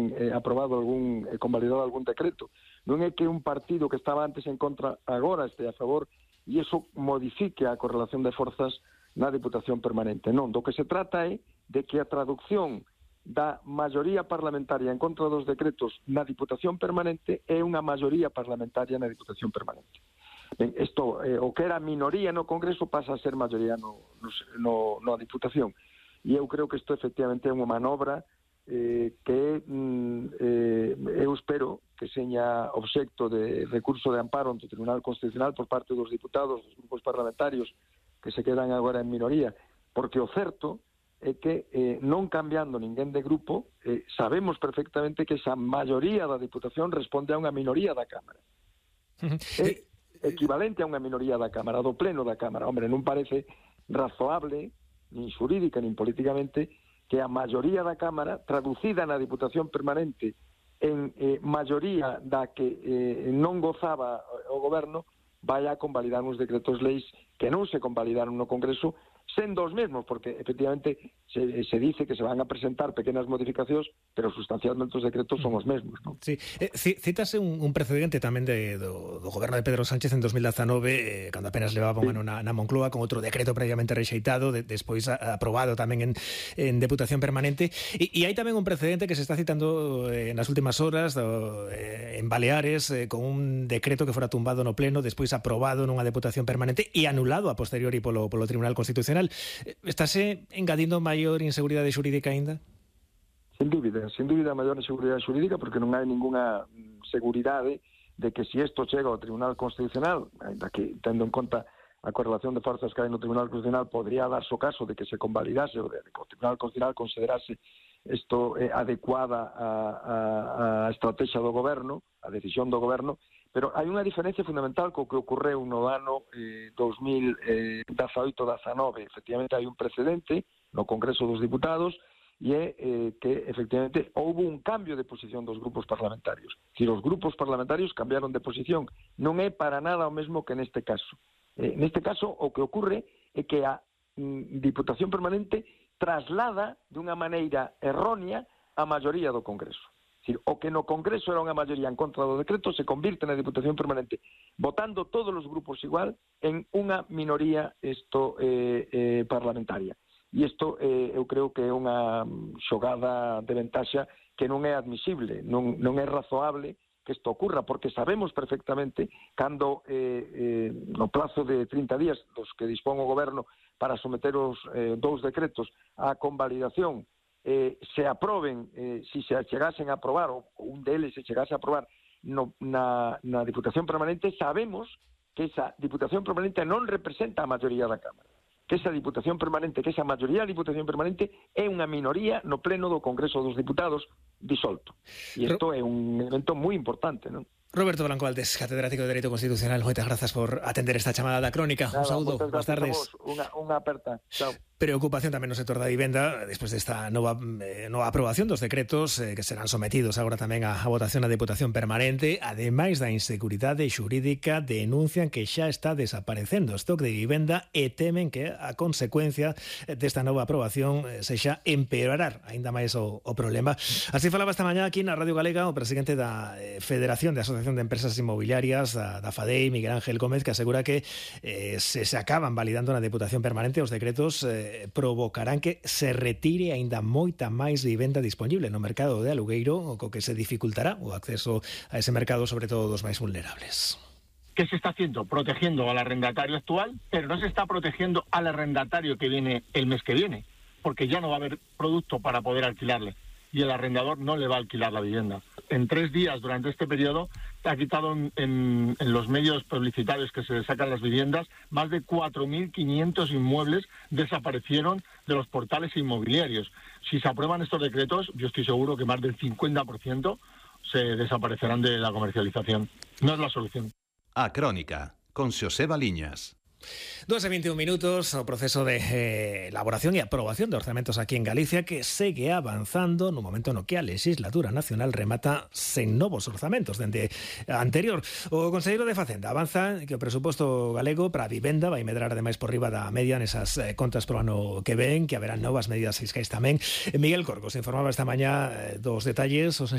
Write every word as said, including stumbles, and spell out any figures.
ten eh, aprobado algún, eh, convalidado algún decreto. Non é que un partido que estaba antes en contra agora este a favor e iso modifique a correlación de forzas na Diputación Permanente. Non, do que se trata é de que a traducción da maioría parlamentaria en contra dos decretos na Diputación Permanente é unha maioría parlamentaria na Diputación Permanente. Ben, isto, eh, o que era minoría no Congreso pasa a ser maioría no, no, no a Diputación. E eu creo que isto efectivamente é unha manobra eh, que mm, eh, eu espero que seña obxecto de recurso de amparo ante o Tribunal Constitucional por parte dos diputados, dos grupos parlamentarios que se quedan agora en minoría, porque o certo é que eh, non cambiando ninguén de grupo, eh, sabemos perfectamente que esa maioría da Diputación responde a unha minoría da Cámara. É equivalente a unha minoría da Cámara, do pleno da Cámara. Hombre, non parece razoable, nin xurídica, nin políticamente, que a maioría da Cámara, traducida na Diputación Permanente en eh, maioría da que eh, non gozaba o Goberno, vaya a convalidar uns decretos leis que non se convalidaron no Congreso, sendo os mesmos, porque efectivamente se, se dice que se van a presentar pequenas modificacións, pero sustancialmente os decretos son os mesmos, non? Sí, eh, cítase un, un precedente tamén de, do, do goberno de Pedro Sánchez en dos mil dezanove, eh, cando apenas levaba un ano na, na Moncloa, con outro decreto previamente rexeitado, de, despois a, aprobado tamén en, en Deputación Permanente, e, e hai tamén un precedente que se está citando eh, nas últimas horas do, eh, en Baleares, eh, con un decreto que fora tumbado no Pleno, despois aprobado nunha Deputación Permanente e anulado a posteriori polo, polo Tribunal Constitucional. Estase engadindo maior inseguridade xurídica aínda? Sin dúbida, sin dúbida maior inseguridade xurídica, porque non hai ninguna seguridade de que se isto chega ao Tribunal Constitucional, ainda que tendo en conta a correlación de forzas que hai no Tribunal Constitucional, podría darse o caso de que se convalidase ou de que o Tribunal Constitucional considerase isto eh, adecuada a, a, a estrategia do Goberno, a decisión do Goberno, pero hai unha diferencia fundamental co que ocorreu no ano eh, dos mil dezaoito dezanove. Efectivamente, hai un precedente no Congreso dos Diputados e é eh, que, efectivamente, houve un cambio de posición dos grupos parlamentarios. Si os grupos parlamentarios cambiaron de posición, non é para nada o mesmo que neste caso. Eh, neste caso, o que ocorre é que a mm, Diputación Permanente traslada dunha maneira errónea a maioría do Congreso. Es decir, o que no Congreso era unha maioría en contra do decreto se convirte na Diputación Permanente, votando todos os grupos igual en unha minoría isto eh, eh, parlamentaria. E isto eh, eu creo que é unha xogada de ventaxa que non é admisible, non, non é razoable que isto ocurra, porque sabemos perfectamente cando eh, eh, no plazo de trinta días dos que dispón o Goberno para someter os eh, dous decretos á convalidación, eh, se aproben, eh, si se chegasen a aprobar, ou un deles se chegase a aprobar no, na, na Diputación Permanente, sabemos que esa Diputación Permanente non representa a maioría da Cámara, que esa Diputación Permanente, que esa maioría da Diputación Permanente é unha minoría no pleno do Congreso dos Diputados disolto. E isto é un elemento moi importante, non? Roberto Blanco Valdés, catedrático de Dereito Constitucional, moitas grazas por atender esta chamada da Crónica. Nada, un saúdo, boas tardes. Unha, unha aperta. Chao. Preocupación tamén no sector da vivenda despois desta nova, eh, nova aprobación dos decretos eh, que serán sometidos agora tamén a, a votación na Deputación Permanente. Ademais da inseguridade xurídica, denuncian que xa está desaparecendo o stock de vivenda e temen que a consecuencia desta nova aprobación eh, sexa empeorar aínda máis o, o problema. Así falaba esta mañá aquí na Radio Galega o presidente da eh, Federación de Asociación de Empresas Inmobiliarias, da, da FADEI, Miguel Ángel Gómez, que asegura que eh, se, se acaban validando na Deputación Permanente os decretos eh, provocarán que se retire aínda moita máis vivenda disponible no mercado de alugueiro, co que se dificultará o acceso a ese mercado, sobre todo dos máis vulnerables. ¿Qué se está haciendo? Protegiendo al arrendatario actual, pero no se está protegiendo al arrendatario que viene el mes que viene, porque ya no va a haber producto para poder alquilarle y el arrendador no le va a alquilar la vivienda. En tres días durante este periodo ha quitado en, en, en los medios publicitarios que se sacan las viviendas, más de cuatro mil quinientos inmuebles desaparecieron de los portales inmobiliarios. Si se aprueban estos decretos, yo estoy seguro que más del cincuenta por ciento se desaparecerán de la comercialización. No es la solución. A Crónica, con Xosé Baliñas. dos e veintiún minutos, o proceso de eh, elaboración e aprobación de orzamentos aquí en Galicia que segue avanzando no momento no que a legislatura nacional remata sen novos orzamentos dende a anterior. O conselleiro de Facenda avanza que o presuposto galego para a vivenda vai medrar ademais por riba da media nesas eh, contas pro ano que ven, que haberán novas medidas fiscais tamén. Miguel Corcos informaba esta mañá eh, dos detalles os